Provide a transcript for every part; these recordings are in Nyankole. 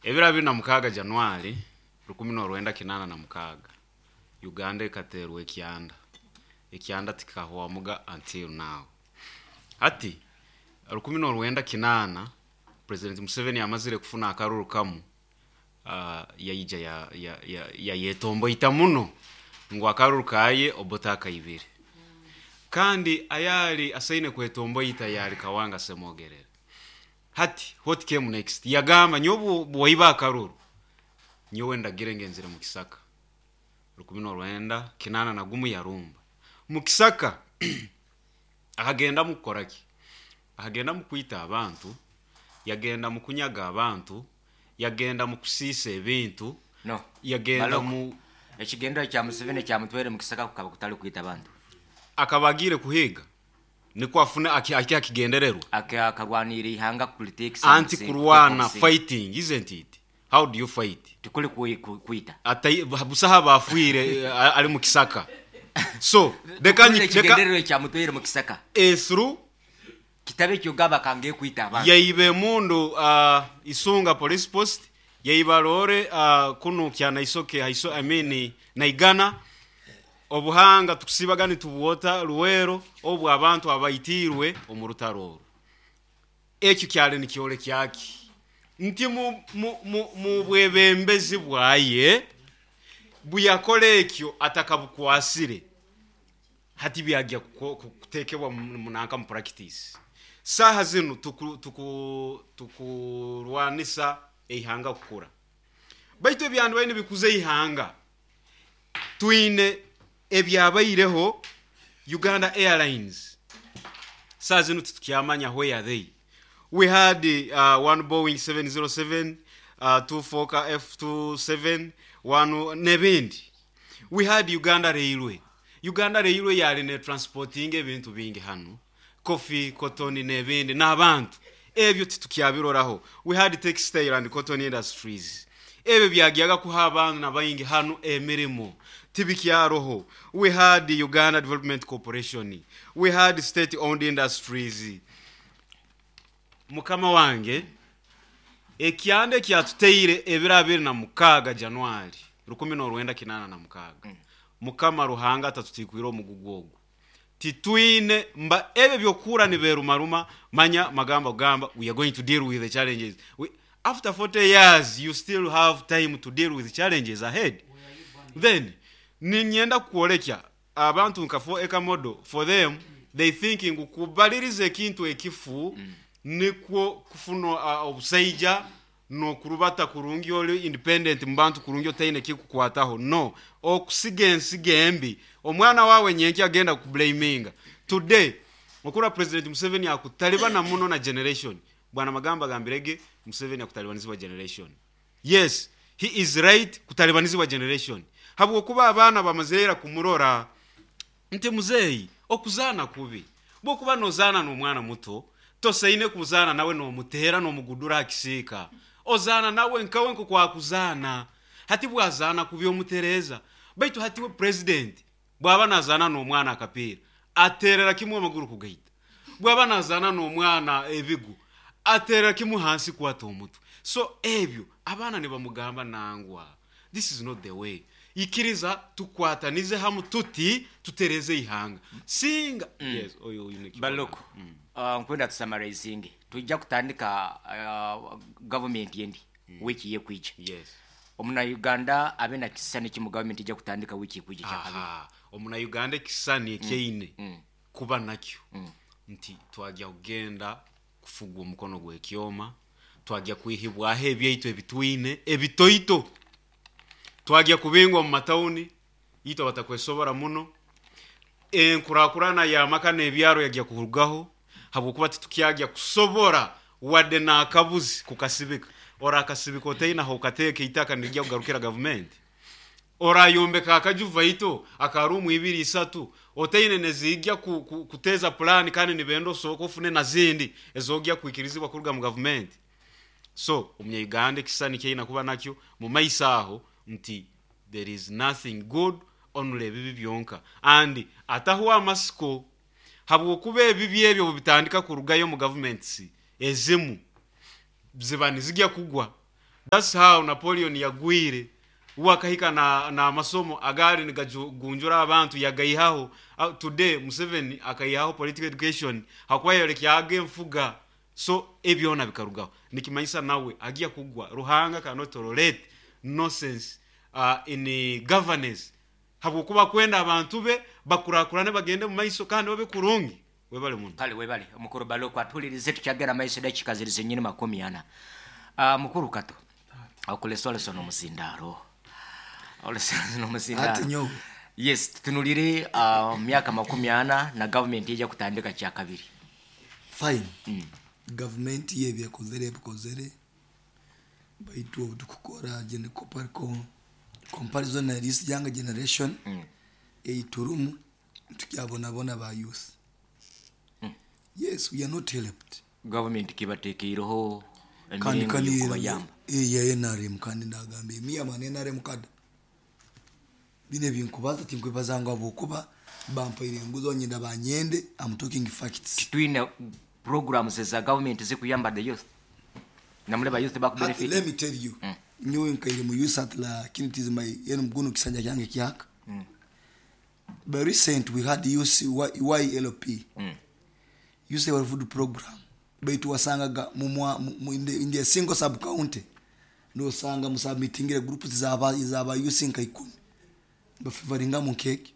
Ebiro 26 January 1986, Uganda ekateerwa ekyanda. Ekyanda tikikahwamuga until now. Hati, 1980, President Museveni amazire kufuna akaruru kamu, yaija yayetomboita muno ngu akaruru kaye Obote akaibire. Kandi ayaali asaine kwetomboita yaali Kawanga Ssemogerere. Hati what came next? Yagamba nyowe obu waiba akaruru, nyowe ndagire ngenzire mu kisaka. 1981 yarumba. Mu kisaka akagendamu kukora ki? Akagendamu kwita abantu, yagenda mu kunyaga abantu, yagenda mu kusiisa ebintu, No. yagenda Maloko, mu. Ekigendererwa kya Museveni ekyamutwaire mu kisaka kukaba kutari kwita abantu. Akaba agiire kuhiiga nikwo afune ahike aha kigendererwa. Akarwanirira eihanga kuriteekisa omu Anti musingi, kurwana, kuteeka omusingi. fighting, isn't it? How do you fight? Tikuri kwita. Atai, busaho abaafiire ari mu kisaka. So, reka Tukuri nyi, reka. ekigendererwa ekyamutwaire mu kisaka. Through. Kitabe eky'ogamba kange kwita abantu. Yaiba emundu aha Isunga Police Post, yaiba loore kunu Kyanaisoke, I mean Naigana. Obuhanga tukusiibaga nitubwota Luweero obu abantu abaitiirwe omu rutaro oru. Ekyo kyali nikyorekya ki? Nti mu, mu, mu, mu bwebembezi bwaye buyakora ekyo atakabukwasire. Hati byagya kutekebwa nanka mu purakitisi. Saaha zinu tukurwanisa eihanga kukura. Baitu ebyandibaire nibikuza eihanga, twine ebyabaireho Uganda Airlines. Saaha zinu titukyamanya where they. We had one Boeing 707, two Fokker F27, one n'ebindi. We had Uganda Railway. Uganda Railway yaali netransportinga ebintu bingi hanu, coffee, cotton n'ebindi n'abantu. Ebyo titukyabiroraho. We had Textile and Cotton Industries. Ebyo byagyaga kuha abaana baingi hanu emirimo. Tibikyaroho. We had Uganda Development Corporation. We had State Owned Industries. Mukama wange, ekyanda ekyatuteire ebiro 26 January 1986, Mukama Ruhanga atatutikwire omugugu ogu. Titwine mba ebyo eby'okuhurra nibeerumaruma, manya magamba kugamba we are going to deal with the challenges. We, after 40 years you still have time to deal with challenges ahead. Then niinyenda kukworekya Abantu nka 4 acre model for them they think ngu kubaliriza ekintu ekifu nikwo kufuna obusaija nokurubata kurungi ori independent mubantu kurungi otaine ekikukwataho no okusiga ensigo embi omwana wawe nyenkya agenda kukublaminga today okurora president Museveni akutalibana muno na generation bwana Magamba agambire ge Museveni akutalibanizibwa generation. Yes he is right kutalibanizibwa generation habwokuba abaana bamazire ira kumurora nti muzeeyi okuzaana kubi. Bwokuba nozaana nomwana muto tosaine kuzaana nawe nomuteera nomugudura aha kisiika. Ozaana nawe nkawe nkoku akuzaana. Hati bwazaana kubi omutereeza. Baitu hati we president bwaba nazaana nomwana akapiira ateerera kimwe amaguru kugaita. Bwaba nazaana n'omwana ebigu, ateerera kimwe hansi kwata omutwe. So ebyo abaana nibamugamba nangwa this is not the way. Ikiriza tukwatanize hamu tuti tutereeze eihanga. Singa yes oyo oine eki Baloko, oragamba. Nkwenda tu summarizinge. Twija kutandika gavumenti endi wiiki ekwija. Yes. Omuna Uganda abe na kisisani ki mu gavumenti eija kutandika wiiki ekwija ekyakabiri? Aha, omuna Uganda ekisisani eki aine kuba nakyo nti twagya kugenda kufugwa omukono gw'ekyoma, twagya kwihibwaho ebyaitu ebi twine ebitoito, twagya kubingwa omu matauni itwe abatakwesobora muno, enkurakurana y'amaka n'ebyaro yagya kurugaho habwokuba titukyagya kusobora wadde n'akabuzi kukasibika. Orakasibika otaine ah'okateeka eitaka nirigya kugarukira gavumenti? Orayombeka akaju vaito aka ruumu ibiri isatu otaine neziija kuteeza pulaani kandi nibenda osooke ofune na zindi ezogya kwikirizibwa kuruga mu gavumenti? So omunya-Uganda ekisisani eki aine kuba nakyo mu maiso aho nti there is nothing good only ebibi byonka and atahwa amasiko habwokuba ebibi ebyo obubitandika kurugayo omu gavuments ezimu ziba nizigya kugwa. That's how Napoleon yagwire we akahika na namasomo agaali nigagunjura abantu yagaihaho. Today Museveni akaihaho political education hakuba yayorekyaga enfuga so ebyona bikarugaho. Nikimanyisa nawe agya kugwa. Ruhanga cannot tolerate nonsense in governance habwokuba akwenda abantu be bakurakurane bagende mumaiso kandi babe kurungi. Webale muno. Kale webale mukuru Baloku atuhulirize tukyagenda maiso edakika ziri zenyini 40. Mukuru Kato okulesolesa nomuzindaaro olesolesa Ati nomuzindaaro nyowe. Yes tutunulire myaka 40 na government eja kutandika kyakabiri. Fine. Gavumenti yo ebi ekozere ebikozere baitu obu tukukora comparison na this younger generation ei turimu nitukyabonabona ba youth. Yes, we are not helped. Government kibatekeireho Kandi emiringo kandi y'okubayamba. eya NRM kandi ndagamba me am an NRM cadre. Bine ebinkubaza tinkwebaza ngu ahabw'okuba bampaire enguzi nyenda banyende, I'm talking facts. Titwine programs za government zikuyamba the youth. Namule ba youth Hati, bakubenefit. let me tell you. Nyowe nkaire mu youth at la it is my yenu mguno kisanja kyange kyaka. But recent we had youth YLP. Youth World Food Program. Baitu wasangaga in the single sub county. Nosanga musubmittingire groups zaba youth nka 10. Bafavoringa mu cake.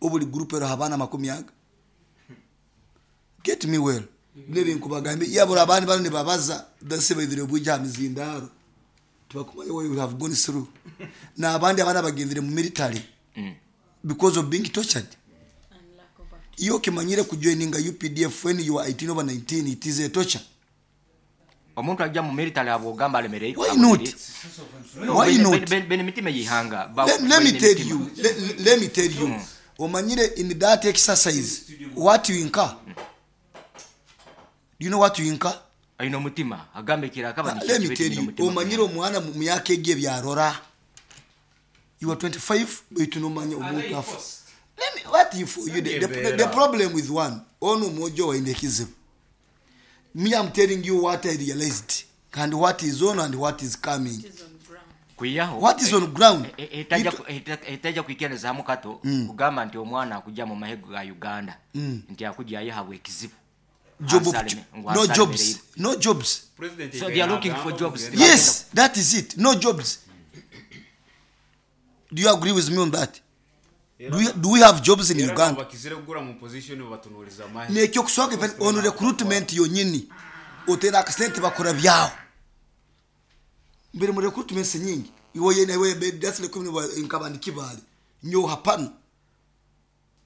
Obuli group ero habana makumi aga. Get me well. Nebi nkubagambe yabura abandi bano nibabaza dase baidire buja mizindaro. Tubakumanya what you have gone through. Na abandi abana bagendire mu military. Because of being tortured. Iyo kimanyire kujoininga UPDF when you are 18 over 19, it is a torture. Omuntu ajja mu military abwogamba alemerere. Why not? No, Why not? Bene mitima yihanga. Let me tell you. Let me tell you. Omanyire in that exercise what you incur. Do you know what you incur? Aino mutima agambe kiraka Let me tell you. Omanyire omwana mu myaka egyo ebyarora. You are 25 but you no manya omuntu afa. Let me, what if you the problem with one ono mojo wa indekizibu. Me, I'm telling you what I realized and what is on and what is coming. Kuyaho. What is on ground? Etaja kuikereza mukato kugamba nti omwana akujja mu mahego ga Uganda nti akujja ayihabwe ekizibu. Job no jobs. No jobs. President So they are looking for jobs. Yes, that is it. No jobs. Do you agree with me on that? Do we have jobs in Uganda? Bakizire kugura mu position batunuliza mahe. Nekyo kusooka on recruitment yonyini otera akasente bakora byawo. Mbere mu recruitment nyingi iwo yene iwe that's recruitment nkabandi kibali nyo hapana.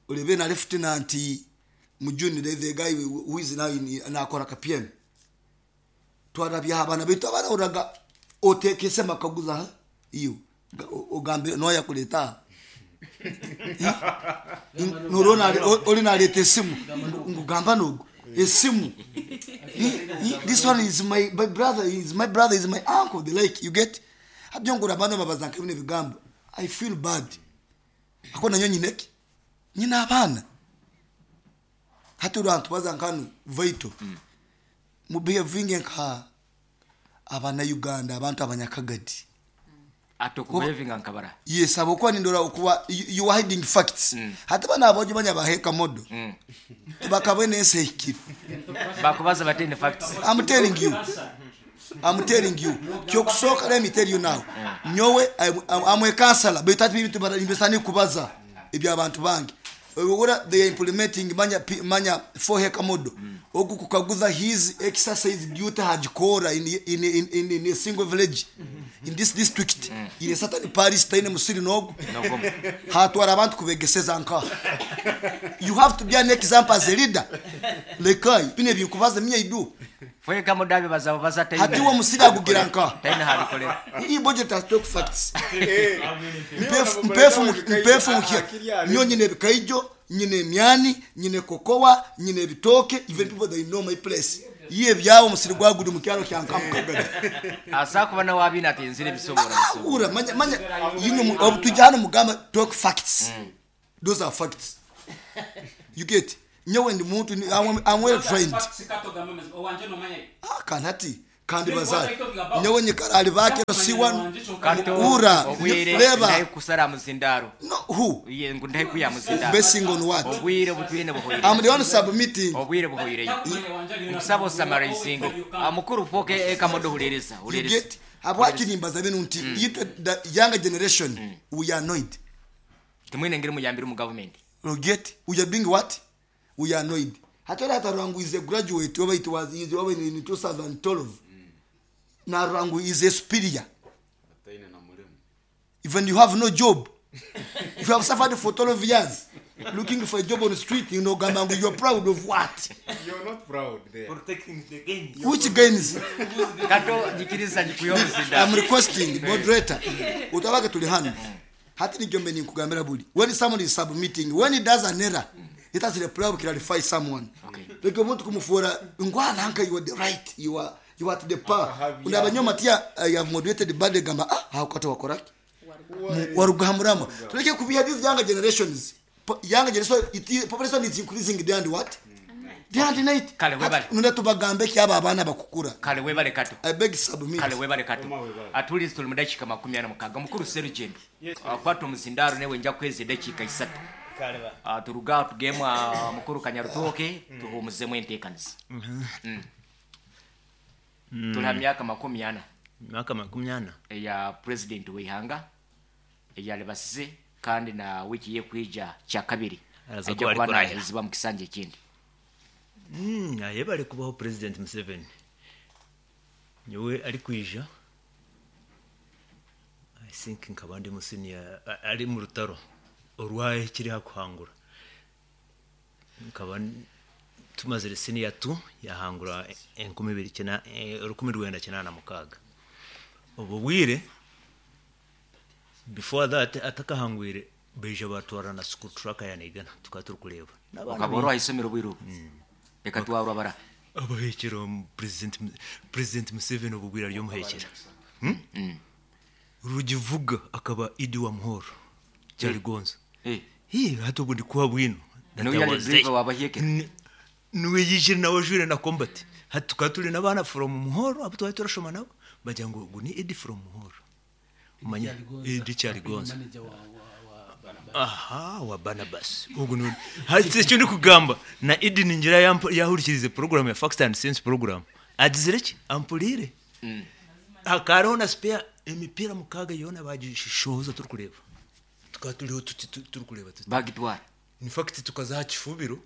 Olebe na lieutenant mu junior the guy who is now in nakora ka PM. Twarabya abana bitu abana uraga otekese makaguza iyo ogambe noya kuleta. Nurona oli naleta esimu ngugamba nogo esimu. This one is my brother, is my brother, is my uncle, the like you get. Abyongura abana babazanka bine bigambo. I feel bad. Akona nyo nyineki nyina abana hati urantu bazankanu vaito. Mu behavinge nka abana Uganda abantu abanyakagadi. Atokubevinga nkabara. Yes, abokuba nindora okuba you are hiding facts. Hata bana abojo banya baheka modo. Bakabwe nse hikiri. Bakubaza batene facts. I'm telling you. I'm telling you. Kyokusoka let me tell you now. Nyowe I'm a counselor. But that bintu bara kubaza ebya abantu bangi. Ora they are implementing manya 4 heka modo. Ogu kukaguza his exercise duty hajikora in a single village. In this district, in a certain parish taine musiri nogo. Hatwara abantu kubegeseza nka. You have to be an example as a leader. Lekai bine binkubaza mye idu. Fweka mudabi bazaba bazata. Hati wo musiri agugira nka. Taine habikole. Iyi budget has talk facts. Mpefu mkia. Nyo nyine bikaijo, nyine myani, nyine kokowa, nyine bitoke, even people they know my place. Iye byawo musiri gwagudi mu kyalo kya nkamukagara. Asakuba na wabina ati nzire bisobora. Ura manya yino obutujana mugamba talk facts. Those are facts. You get nyewe ndi muntu I'm well trained. Kanati Kandi bazaare. Nyowe nyikara ahari Bakiro si wanu. Kato Ura, obwire reeba. ndahi kusara aha muzindaaro. No, who? Ye, ngu ndahi kwiha aha muzindaaro. Basing on what? Obwire obu twine buhweireyo. I'm the one submitting. Obwire buhweireyo. Nkusaba osamaraizinge. Mukuru fooka ekamodo huriiriza, You huriiriza. get? Habwaki nimbaza binu nti itwe the younger generation we are annoyed. Timwine ngeri muyambire omu gavumenti. You get? We are being what? We are annoyed. Hati ori atarora ngu is a graduate oba it was is oba in 2012 narora ngu is a superior. Ataine na murimo. Even you have no job. You have suffered for 12 years looking for a job on the street, you know, gamba ngu you are proud of what? You're not proud there. Protecting the gains. Which gains? Kato nyikiriza nyikuhe omuzindaaro. I'm requesting moderator utabage tuli hano hati nigyo mbe ninkugambira buri when someone is submitting when he does an error it has the power to clarify someone Okay. like omuntu kumufuura ngwana nka you are the right you are you are at the power Akahabya. unabanyoma tia I have moderated bad gamba ah haukata wakoraki waruga hamurama tuleke kubiha these younger generations younger generation it population is increasing day and what day and night Kale, webale. nunda tubagambe ki aba abaana bakukura Kale webale Kato. I beg submit. Kale webale Kato. Oma webale. Atulize tuli mu dakiika 46. Mukuru Serugendo. Kwata omuzindaaro newe nja kuheza edakiika isatu. Turuge aho tugemu aha mukuru Kanyarutooke tuhuumuzemu enteekanisa. Turi aha myaka 40. Emyaka 40. Eya purezidenti w'eihanga eyaribasize kandi na wiiki y'ekwija kyakabiri Araza aija kuba kuba arikurahira. naahezibwa omu kisanja ekindi. Ayebare kubaho Purezidenti Museveni. Nyowe arikwija I think nkaba ndi mu senior ari mu rutaro orwahikire aha kuhangura. Nkaba tumazire senior two yahangura enkumi ibiri 1986. Obwo bwire before that atakahangwire baija batwara na school truck ya Naigana tukaba turikureeba. N'abaana Okaba ori aha isomero obwire obwo? Ekatwarwa bara? Abahekyera omu president president Museveni obwo bwire ari omuhekyera. Rugivuga akaba Idi wa Muhoro Kyaligonza. Eh. Hii hati obwo ndikuha bwino. That Niwe I yari was driver there. wabahekera? Niwe yijire nawe ajwire na combat. Hati tukaba turi n'abaana from Muhoro abu twari turashoma nabo bagira ngu ogu ni Idi from Muhoro. Omanya Idi Kyaligonza. Aha wa Barnabas. Ogu niwe hati eki ndikugamba na Idi ningira yahurikirize program ya Facts and Sense program. Agizire ki? Ampuriire. Hakaba hariho na spare emipiira mukaaga yoona bagishohoza turikureeba. Tukaba turiho tuti turikureeba tuti. Bagitwara. In fact tukaza aha kifubiro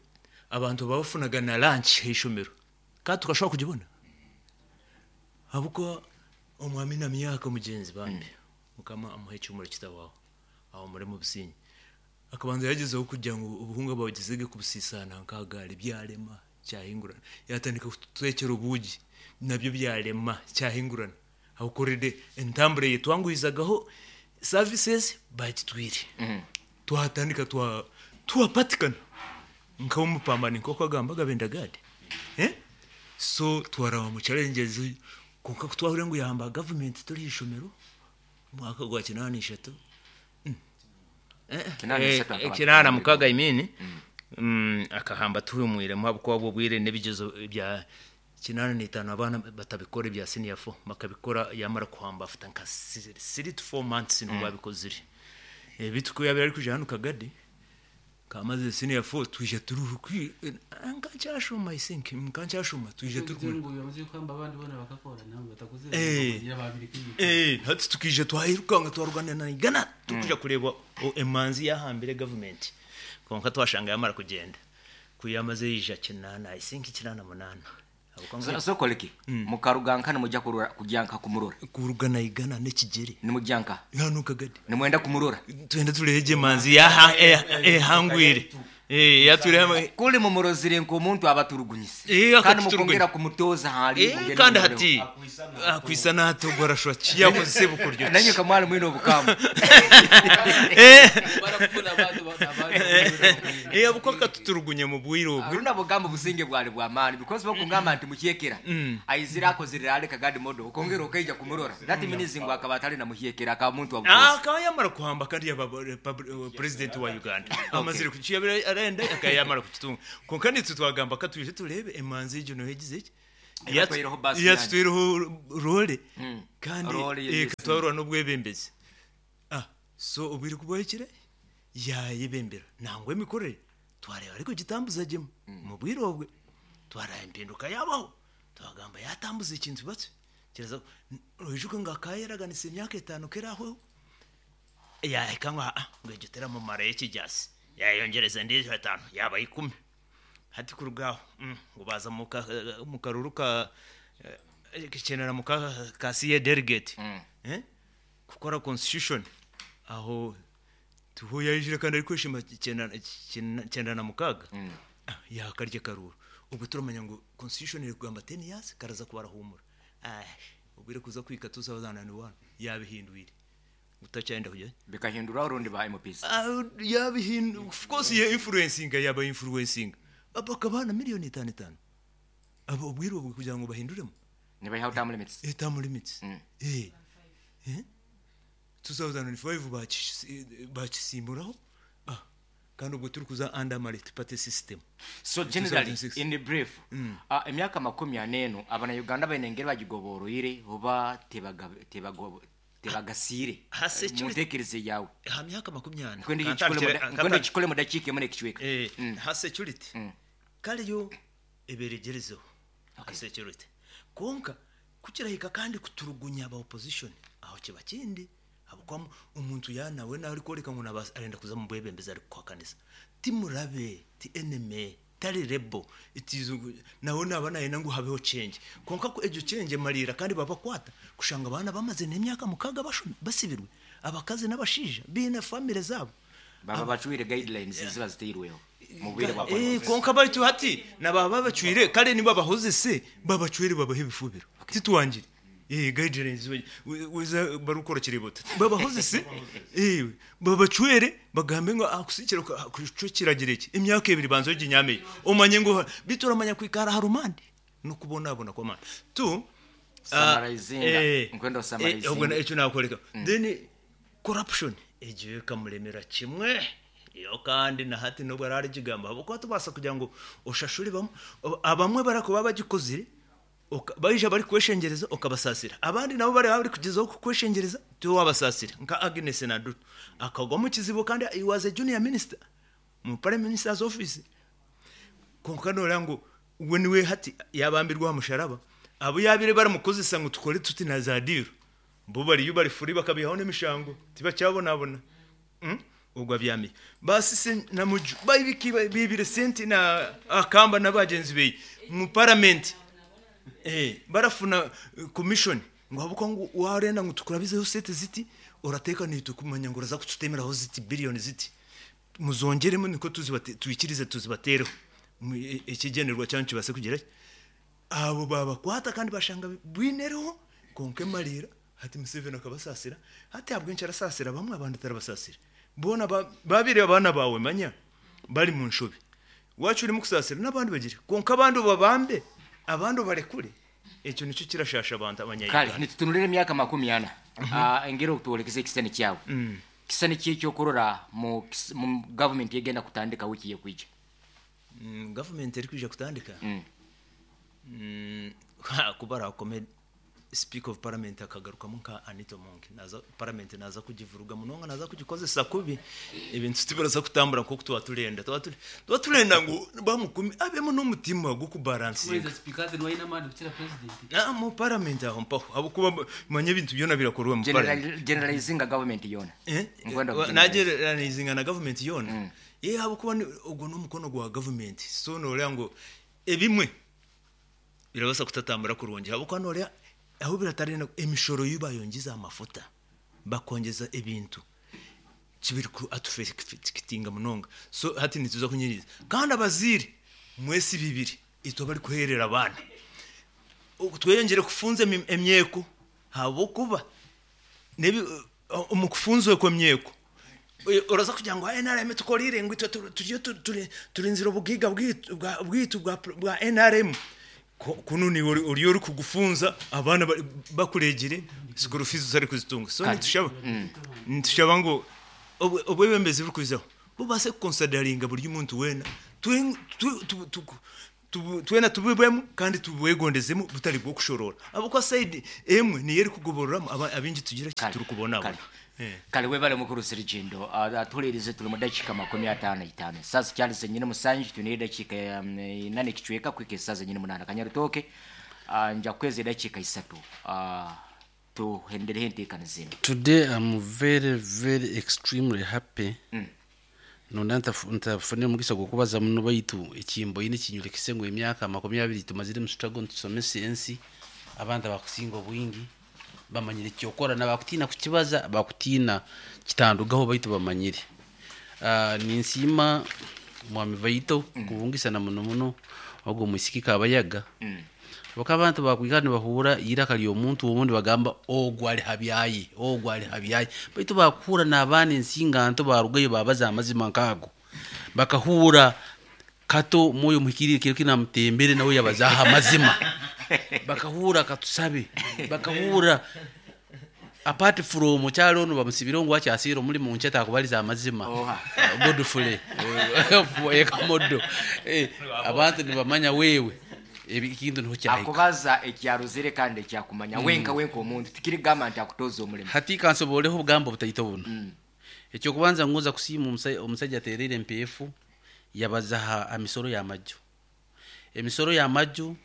abantu babafunaga na lunch ah'eishomero kandi tukashobora kugibona. Ahabw'okuba omwami na myaka mugyenzi bambi mukama amuhe ekihumuro kitahwaho ahumure omu busingye. Akabanza yagyezaho kugira ngu obuhunga babugyezege kubusiisaana nk'aha gaari byarema kyahingurana. Yatandika kututwekyera obuugi nabyo byarema kyahingurana. Ahabw'okuba already entambura eyetwanguhizagaho services bagitwire. Twatandika twa twapatikana nk'omupambani nk'oku agambaga Bendagadi. Eh? So twaraba mu challenges kwonka ku twahurire ngu yahamba government turi aha ishomero omwaka gwa 83. 83 akaba 86 I mean. Akahamba tuhumwiremu ahabw'okuba obwo obwire n'ebigyezo bya 85 abaana batabikora ebya senior 4 bakabikora yamara kuhamba after nka 3 to 4 months nibwo babikozire. Beitu ku yabaire arikwija hanu Kagadi kamazire senior 4 twija turi nkankyashoma I think nkankyashoma twija turi hati tukaija twayirukanga twarwana na Igana turikuja kureeba emanzi yahambire government kwonka twashanga yamara kugyenda ku yamaze yaija 8 I think 88. So, so koleki mukaruga nka nimujya kurora kujya nka kumurora Kuruga na Igana n'ekigere. Nimujya nka Hanu Kagadi. Nimwenda kumurora. Twenda tureebe emanzi yaha ehangwire. Yature hamwe. Kuri mumurozire nk'omuntu abaturugunyise. Eh, Kandi akatuturugunya. mukongera kumutoza hali Eh, kandi hati akwisa n'ato gwarashwa kiyakoze bukuryo. Nanyo kamwali mwine obukamu. Barakufuna abantu Eh, abuko akatuturugunya mu bwire obwo. Aruna bugamba businge bwali bwa mani because bakungamba nti muhyekera. Aizira akozirira ale Kagadi modo okongera okaija kumurora. That means ngo akaba atali na muhyekera akaba muntu wa bukozi. Akaba yamara kuhamba kandi yaba president wa Uganda. Amazire kuchiyabira arenda akayamara kukitunga. Konka nitwe twagamba katwije turebe emanzi egyo no yagize ki? Ebatwaireho bus Yatutwireho role kandi Role ye ekatwarwa n'obwebembezi. So obwire ku bwahikire yayebembera nangwa emikorere twareeba arikugitambuza gyemu mu bwire obwe twaraba empinduka yabaho twagamba yatambuza ekintu batyo kiraza oijuke ngu akayeraganisa emyaka 5 kerahweho yahika ngu ngu egyo teramumara ekigyasi yayongereza endiijo 5 yaba 10 hati kuruga aho ngu baza mu karuru ka kikenera mu ka CA delegate kukora constitution aho tuho yayijire kandi arikweshima 96 yakarya karuru ubwo turamanya ngo constitution iri kugamba 10 years karaza kubarahumura ubwire kuza kwika 2001 yabihindwire utacyenda kujya bikahindura urundi ba MPs yabihindu of course ye influencing yaba influencing abakabana miliyoni 55 abo ubwire ubwo kugira ngo bahinduremo nibayihaho term limits term limits 2005 bakisimburaho kandi ubwo turi kuza under multi-party system. So generally 2006. in the brief emyaka 40 abana Uganda bainengere bagigoboroire oba tebagasire mutekereze yawe ha myaka 40 nkwende kikole mu dakika emwe nekicweka ha security kaliyo eberegerezeho ha security konka kukirahika kandi kuturugunya aba opposition aho kiba kindi abukwamu omuntu yanawe nawe arikoreka ngu arenda kuza mu bwebembezi ari kuhakanisa timurabe ti enemy tari rebo itizo nawe naba naye ngu habeho change konka ko ejo change marira kandi babakwata kushanga abana bamaze n'emyaka mukaga basibirwe abakazi n'abashija bina family zabo baba bacwire guidelines ziba ziteirweho mu bwire bwa konka bari hati nababa bacwire kare niba bahoze se babacwire babahe ibifubiro titwangire guidelines weza barukora kiribota babahoze se babacwere bagambe ngo akusikira kucukiragira iki imyaka 2 banzo ginyameye umanye ngo bituramanya kwikara harumandi no kubona abona kwa mana tu summarizinga nkwendo summarizinga ubwo icyo nakoreka then corruption egiye kamuremera kimwe iyo kandi na hati nubwo arari kigamba kuko tubasa kugira ngo ushashuri bamwe abamwe barakuba bagikozire baija bari kweshengereza okabasasira abandi nabo bari bari kugezaho kukweshengereza tu wabasasira nka Agnes Nadutu akagwa mu kizibo kandi he was a junior minister mu prime minister's office konka nora ngo we niwe hati yabambirwa musharaba abo yabire baramukozesa ngo tukore tuti na zadiro bo bari yo bari furi bakabihaho n'emishango tibacyabonabona ubwo abyamiye basise na muju bayibiki bibire senti na akamba n'abagenzi beye mu parliament barafuna commission ngo habuko ngo warenda ngo tukurabizeho sete ziti urateka nito kumanya ngo uraza kututemeraho ziti billion ziti muzongeremo niko tuzibate tuikirize tuzibatereho ikigenerwa cyane kibase kugira abo babakwata kandi bashanga bwinereho konke marira hati Museveni akabasasira hati abwenshi arasasira bamwe abandi tarabasasira bona babire abana bawe manya bari mu nshobe wacu urimo kusasira n'abandi bagire konka abandi babambe abandi barekure ekyo nicyo kirashasha abantu abanyayuganda. Kale nitutunulire emyaka 40 engeri okutwolekeza ekisani kyawe kisani ki ekyokurora mu government egenda kutandika wiki yekwija government erikwija kutandika kubara kome speaker of parliament akagarukamu nka Anita Monk naza parliament naza kugivuruga munonga naza kugikozesa kubi ebintu tibaraza kutambura nko tuba turenda tuba turenda ngo bamukumi abemo n'umutima go kubalansinga mu parliament aho mpaho abo kuba manye ibintu byona birakorwa mu parliament generalizinga government yona nageralizinga na government yona abo kuba ubwo n'umukono gwa government so nore ngo ebimwe birabasa kutatambura kurungi abo kwa nore aho biratarena emishoro yubayongiza amafuta bakongeza ebintu kibiri ku atufekitinga munonga so hati nituza kunyiriza kandi abaziri mwesi bibiri ito bari kuherera abana tweyongere kufunze emyeko habo kuba nebi umukufunzwe ko myeko uraza kugira ngo NRM tukorire ngo tujye turinzira ubugiga bwitu bwa NRM kuno ni uri uri kugufunza abana bakuregere school fees zari kuzitunga so nitushaba ngo obwebembezi buri kuzaho bubase consideringa buri muntu wena Twena tubibwemu kandi tubwegondezemu butari bw'okushoroora ahabw'okuba sayidi emwe niyo erikugobororamu abaingi tugira ki Kare, turikubonabona. kare. Kare webale mukuru Serugendo. Atuhuririze turi mu dakiika 55. Esaaha zikyari zenyine musanju twineyo edakiika ina n'ekicweka kuhika esaaha zenyine munaana. Kanyarutooke nja kukweza edakiika isatu tuhendereho enteekaniza enu. Today I'm very very extremely happy nonda ntafunire omugisa gw'okubaza muno baitu ekimboine kinyolekise ngu emyaka 20 tumazire omu struggle nitusomesa ensi abantu abakusinga obwingi bamanyire ekyokora nabakutiina kukibaza bakutiina kitandugaho baitu bamanyire. Ninsiima mwami Vaito kubungisa na muno muno ogwo omwisiki Kabayaga habwokuba abantu bakwikara nibahuura eiraka ry'omuntu omwe nibagamba ogu ari habyaye ogu ari habyaye baitu bakuhuura n'abaana ensinganto barugayo babaza amazima nk'ago bakahuura kato Mwoyo Omuhikiriire kiro kinu amutembere nawe yabazaho amazima bakahuura katusabe bakahuura apart from okyali onu bamusibireho ngu akyasiire omurimo nkye takubariza amazima Godfrey Ekamodo abantu nibamanya wewe ekintu niho kyahika. Akubaza ekyarozere kandi ekyakumanya wenka wenka omuntu tikirigamba nti akutoza omurimo. Hati kansoboreho obugambo butaito buno. Ekyokubanza ngonza kusiima omusaija atereire empeefu yabaza ha misoro y'amaju. Emisoro y'amaju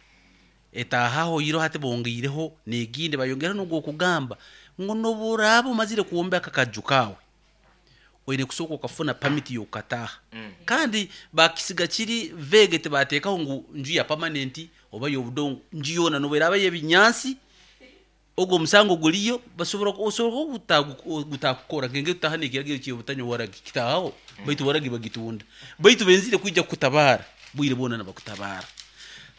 etaahaho iro hati bongeireho n'egindi bayongereho n'ogw'okugamba ngu n'obu oraaba omazire kwombeka akaju kaawe oine kusooka okafuna pamiti y'okukataaha. Kandi baakisiga kiri vague tibateekaho ngu nju ya pamanenti oba y'obudongo, nju yoona n'obu eraaba y'ebinyaatsi ogwo omusango guriyo basobora osobola gutakukora nk'engeri tutaha n'ekiragiro ky'obutanywa waragi kitaahaho baitu waragi bagitunda. Baitu benzire kwija kukutabaara bwire bwona nibakutabaara.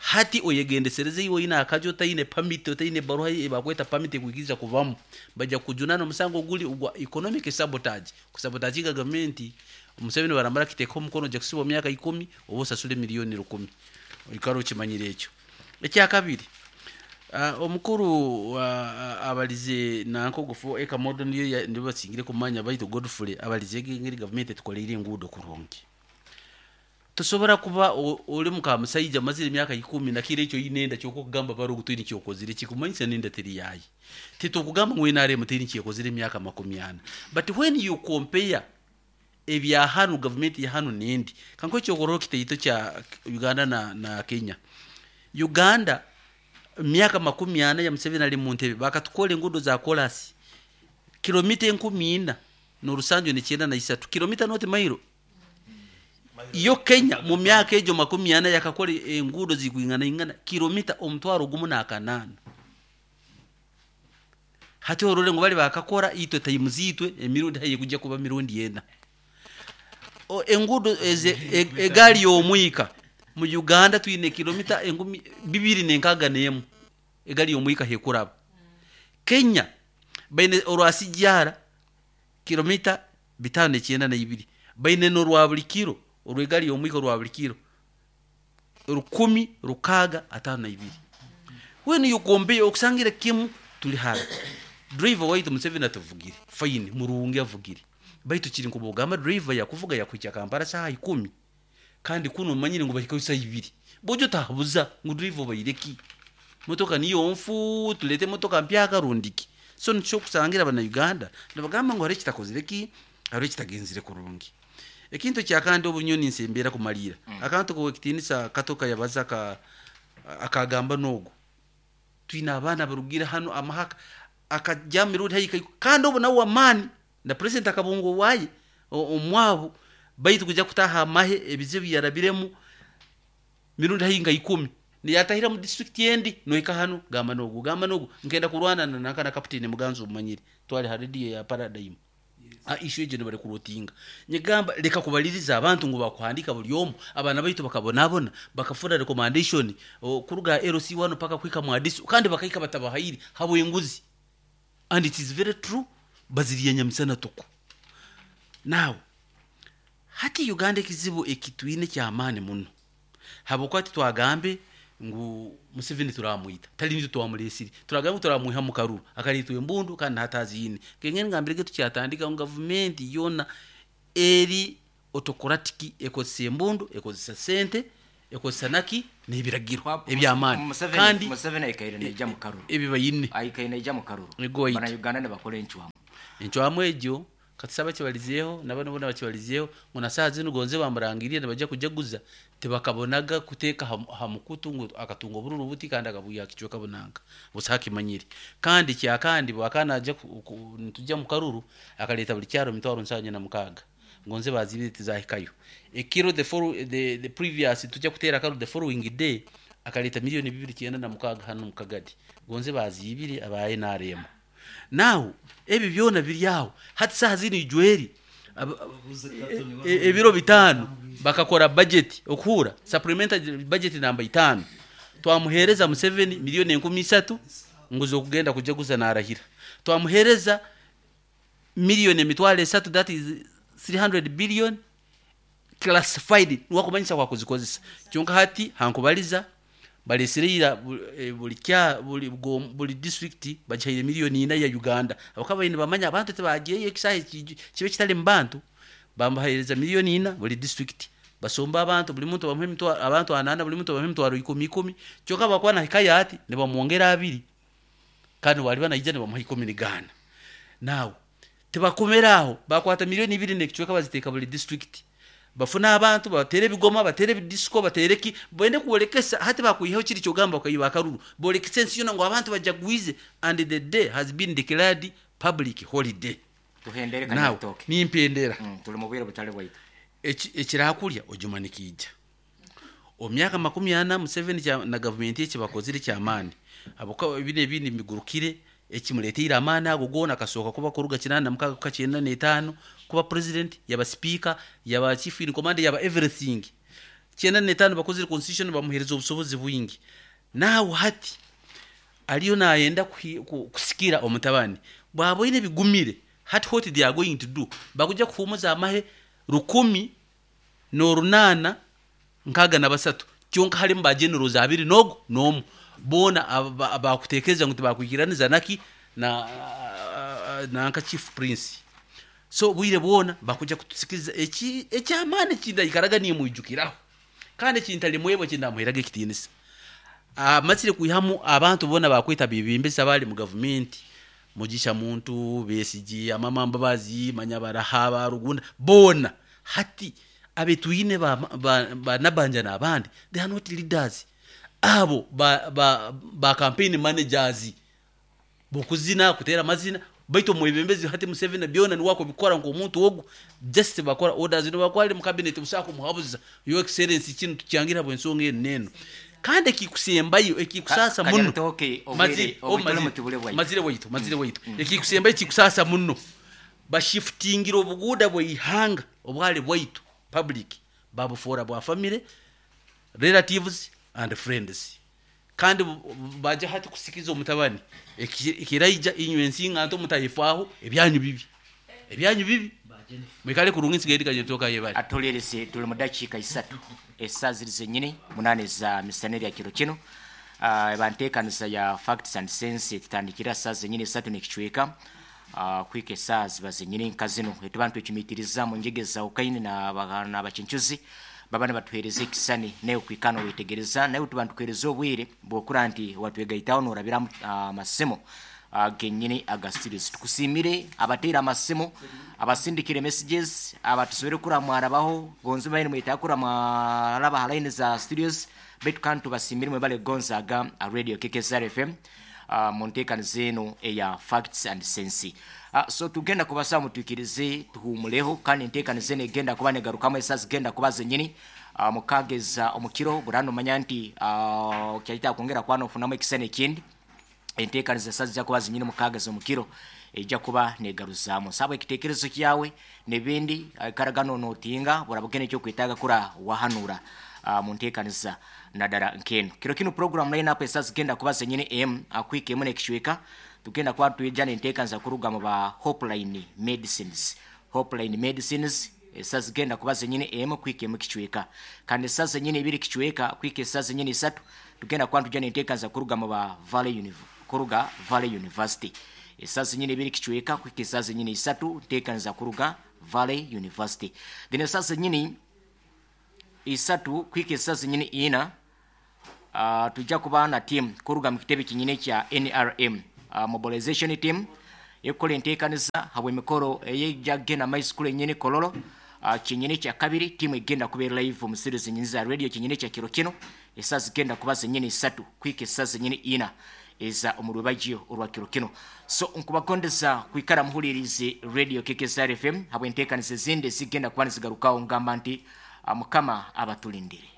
Hati oyegendesereze iwe oine akaju otaine pamiti otaine baruha ei bakweta pamiti ekwikiriza kubamu baija kukujunaana omusango oguri ogwa economic sabotage kusabotaginga gavumenti Museveni baramara akiteekaho omukono oija kusibwa emyaka ikumi oba osasure miriyoni rukumi oikare okimanyire ekyo. Ekyakabiri omukuru abarize nanka ogu Ekamodo niyo nibo basingire kumanya baitu Godfrey abarize engeri gavumenti etukoreire enguudo kurungi. Tosobora kuba ori muka musaija omazire emyaka ikumi na kiro ekyo oine enda kyonka okugamba baro ogu toine eki okozire kikumanyisa n'enda teri yaaye. Titukugamba ngu NRM teine eki ekozire emyaka 40 but when you compare ebya hanu gavumenti ya hanu n'endi kankuhe ekyokurorraho kitaito kya Uganda na Kenya. Uganda emyaka 40 ya Museveni ari omu ntebe bakatukora enguudo za korasi kilomita 4693 kilomita not mailo. Yo Kenya mu myaka egyo 40 yakakora enguudo zikwinganaingana kilomita 1008. Hati orore ngu bari bakakora itwe times itwe emirundi haihi kuija kuba mirundi ena. Enguudo eze egaari y'omwika mu Uganda twine kilomita 261 egaari y'omwika ahu ekuraba. Kenya baine orwa Sijara kilomita 592 baine n'orwa buri kiro orw'egaari y'omwika orwa buri kiro 1652. When you compare okusangire kimu turi hara. Driver waitu Museveni atuvugire fine murungi avugire baitu kiri nk'obwogamba driver yakuvuga yakuhikya Kampala saaha ikumi kandi kunu omanyire ngu bahikayo saaha ibiri bojo otahabuza ngu driver obaire ki? Motoka niyo nfu tuleete emotoka mpyaka rundi ki? So nikyo okusangira abana Uganda nibagamba ngu hariho ekitakozire ki? Hariho ekitagenzire kurungi. Ekintu ekyakandi obu nyowe ninsembera kumariira akantu k'owekitiinisa Kato kayabaza akagamba n'ogu twine abaana abarugire hanu amahaka akajya mirundi haihi kandi obu nawe w'amaani na president akabunga owaaye omwabu baitu kuija kutaaha amahe ebizibu yarabiremu mirundi haihi nka ikumi niyatahira mu district endi nohika hanu gamba n'ogu gamba n'ogu nkenda kurwana na nanka na kaputini Muganza omumanyire twali ha radio ya Paradigm issue egyo nibarikurotinga nyegamba leka kubaliriza abantu ngu bakuhandika buri omu abaana baitu bakabonabona bakafuna recommendation kuruga LC1 paka kuhika Mwadiso kandi bakahika batabahaire habw'enguzi and it is very true baziriya nyamisana tuku. Now hati Uganda ekizibu ekitwine ky'amaani muno habwokuba titwagambe ngu Museveni turamwita tari nitwe twamureesire turagambe ngu turamwiha omu karuru akareetwa embundu kandi nahati aziine. Nkengeri ngambire ge tukyatandika ngu gavumenti yoona eri autocratic ekozesa embundu ekozesa sente. Ekozesa naki? N'ebiragiro eby'amaani kandi Museveni aikaire naija mu karuru. Ebi baine. Aikaire naija mu karuru. Ego waitu. Bana Uganda nibakora encwamu. Encwamu egyo katusabe bakibalizeeho na banu boona bakibalizeeho ngu na saaha zinu gonze bamurangiriire nibaija kujaguza tibakabonaga kuteeka aha mukutu ngu akatunga obururu buti kandi akabwiha aha kicweka bunanka. Busaho akimanyire. Kandi ekyakandi obu akaba naija nituja omu karuru akareeta buri kyaro emitwaro nsanju na mukaaga. Ngonze baziibire tizahikayo. Ekiro the follow, the, the previous tujya kuteera akaruru the following day akareeta milioni 296 hanu omu Kagadi. Gonze baziibire aba nrm. Now ebi byona biri aho hati saaha zinu Ijweri ebiro bitaano bakakora budget okuhuura supplementary budget namba itaano twamuheereza Museveni milioni 3,000 ngu z'okugenda kujaguza narahira. Twamuheereza milioni 300 that is 300 billion classified niwe akumanyisa oku akuzikozesa. Kyonka hati hankubariza baresire ira buri kya buri buri district bagihaire milioni ina ya Uganda ahabw'okuba babaire nibamanya abantu tibagyeyo ekisaaha eki kibe kitarimu bantu bamuhereza milioni ina buri district basomba abantu buri muntu bamuha emitwaro abantu anana buri muntu bamuha emitwaro ikumi ikumi kyonka bwakuba nahikayo ati nibamwongera abiri kandi bwariba naija nibamuha ikumi nigaana. Now Tibakomera aho, bakwata milioni ibiri n'ekicweka baziteeka buri disiturikiti. Bafuna abantu, babateera ebigoma, bateera ebidisiko, bateera eki, bende kworekesa hati bakwihaho kiri ky'ogamba okaiba akaruru, borekese ensi yoona ngu abantu bajagwize and the day has been declared public holiday. Tuhendere Now, Kanyabitooke. nimpendera. Turi mu bwire butari bwaitu. Eki ekirakurya ojuma nikiija. Omu myaka 40 Museveni na gavumenti ye ekibakozire eky'amaani ahabw'okuba ebi n'ebindi mbigurukire ekimureteire amaani ago goona akasooka kuba kuruga 86 kuhika 95 kuba president yaba sipiika yaba chief in command yaba everything. 95 bakozire constitution bamuhereza obusobozi bwingi. Now hati ariyo nayenda kusikira omutabani bwaboine bigumire hati what they are going to do bakuja kuhumuza amahe 1863 kyonka harimu ba generals abiri n'ogu n'omu boona abakutekereza ngu tibakwikiraniza naki na nanka chief prince so obwire bwona bakuja kutusikiriza eki eky'amaani ekindaikaraga nimwijukiraho kandi ekintalimwebwa ekindamuheraga ekitiinisa amazire kwihamu abantu boona bakweta abebembezi abali mu gavumenti Mugisha Muntu, Besigye, Amama Mbabazi, manya Baraha, ba Rugunda boona hati abetwine ba, ba, ba Nabanja n'abandi they are not leaders abo ba, ba, ba campaign managers b'okuzina kuteera amazina baitu omwebembezi hati Museveni byona niwe akubikora nk'omuntu ogu just bakora orders nobu ari mu cabinet busaho kumuhabuza your excellency kinu tukyangire ahabw'ensonga enu n'enu Kandi ekikusembayo ekikusaasa muno, Kanyabitooke obwire mazire, obwire mazire, mutubure bwaitu. mazire waitu, mazire waitu, ekikusembayo ekikusaasa muno, bashifutingire obuguuda bw'eihanga obwari bwaitu, public, babufoora bwa family, relatives and friends. Kandi baija hati kusikiza omutabani, ekiraija inywe ensinganto mutayefaaho, ebyanyu bibi. Ebyanyu bibi. Mwikare kurungi nsigaire ndi Kanyabitooke ayebare. Atuhuriirize turi mu dakiika isatu esaaha ziri zenyini munaana eza misana erya kiro kinu. Eba nteekanisa ya Facts and Sense etutandikire aha saaha zenyini isatu n'ekicweka kuhika esaaha ziba zenyini nka zinu. Etuba nitwecumitiriza omu njega ezahukahine n'abakincuzi baba nibatuheereza ekisani naiwe kuhika nowetegereza. Naiwe tuba nitukuheereza obwire bw'okura nti watwegaitaho norabira aha masimu genyini aga studios. Tukusiimire abateire amasimu, abasindikire messages, abatusobire kura mwarabaho, gonza mubaire nimwetaaga kura mwaraba aha line za studios, baitu kandi tubasiimire mwebale kugonza aga Radio KKSR FM mu nteekaniza enu eya Facts and Sense. So tugenda kubasaba mutwikirize tuhuumuleho kandi enteekaniza enu egenda kuba negarukamu esaaha zigenda kuba zenyini mukaaga omu kiro, buranu nomanya nti okyaitaaga kwongera kuba nofunamu ekisani ekindi. Enteekaniza esaaha zija kuba zinyine mukaaga z'omukiro eija kuba negaruzaamu. Saba ekiteekerezo kyawe n'ebindi, ikaraga nonotinga burabugena ekyokwetaaga kura wahanura mu nteekaniza nadara nk'enu. Kiro kinu puroguramu line up esaaha zigenda kuba zenyine emu kuhika emu n'ekicweka. Tugenda kuba nitwija n'enteekaniza kuruga mu ba Hopeline Medicines. Hopeline Medicines esaaha zigenda kuba zenyine emu kuhika emu kicweka. Kandi esaaha zenyine ibiri kicweka kuhika esaaha zenyine isatu tugenda kuba nitwija n'enteekaniza kuruga mu ba Valley Univ kuruga Valley University. Esaaha zenyine ibiri kicweka kuhika esaaha zenyine isatu nteekaniza kuruga Valley University. Then esaaha zenyine. isatu kuhika esaaha zenyini ina, tujja kuba na team kuruga mu kitebe kinyini ekya NRM, mobilization team ekukora enteekaniza habw'emikoro ey'ejja kugenda maiso kuri enyini Kololo. Kinyini ekya kabiri, tiimu egenda kuba eri live omu studio zenyini za radio kinyini ekya kiro kinu, esaaha zigenda kuba zenyini isatu kuhika esaaha zenyini ina eza omu rwebagyo orwa kiro kinu. So nkubagondeza kwikara muhuririize radio KKSR FM habw'enteekaniza ezindi ezigenda kuba nizigarukaho. Ngamba nti Mukama abatulindire.